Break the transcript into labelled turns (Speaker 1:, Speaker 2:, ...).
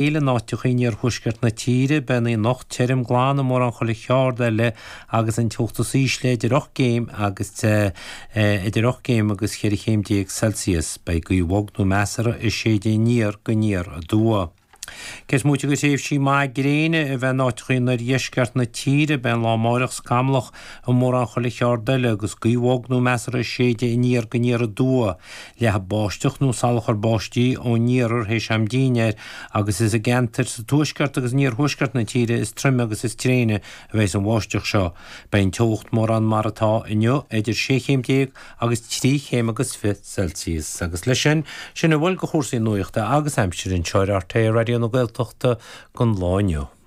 Speaker 1: In áiteacha in iarthuaisceart na tíre, beidh an oíche anocht tirim glan i mórán chuile cheard eile agus an teocht is ísle idir 8 gcéim agus idir 8 gcéim agus 14 chéim Celsius. Beidh gaoth bhog nó measartha ag séideadh aniar go aniar aduaidh. Cé is móite de thréimhsí maithe gréine a bheith in áiteacha in oirdheisceart na tíre, beidh an lá amáireach scamallach i mórán chuile cheard eile agus gaoth bhog nó measartha ag séideadh aniar go aniar aduaidh. Leathfaidh báisteach nó salachar báistí ón iarthar théis am dinnéir agus is i gceantair sa tuaisceart agus in iarthuaisceart na tíre is troime agus is tréine a bheas an bháisteach seo. Beidh an teocht mórán mar atá inniu, idir 16 chéim agus 3 chéim agus 20 Celsius. Agus leis sin, sin a bhfuil de chúrsaí nuachta agus aimsire anseo ar rté Raidió na Gaeltachta don lá inniu.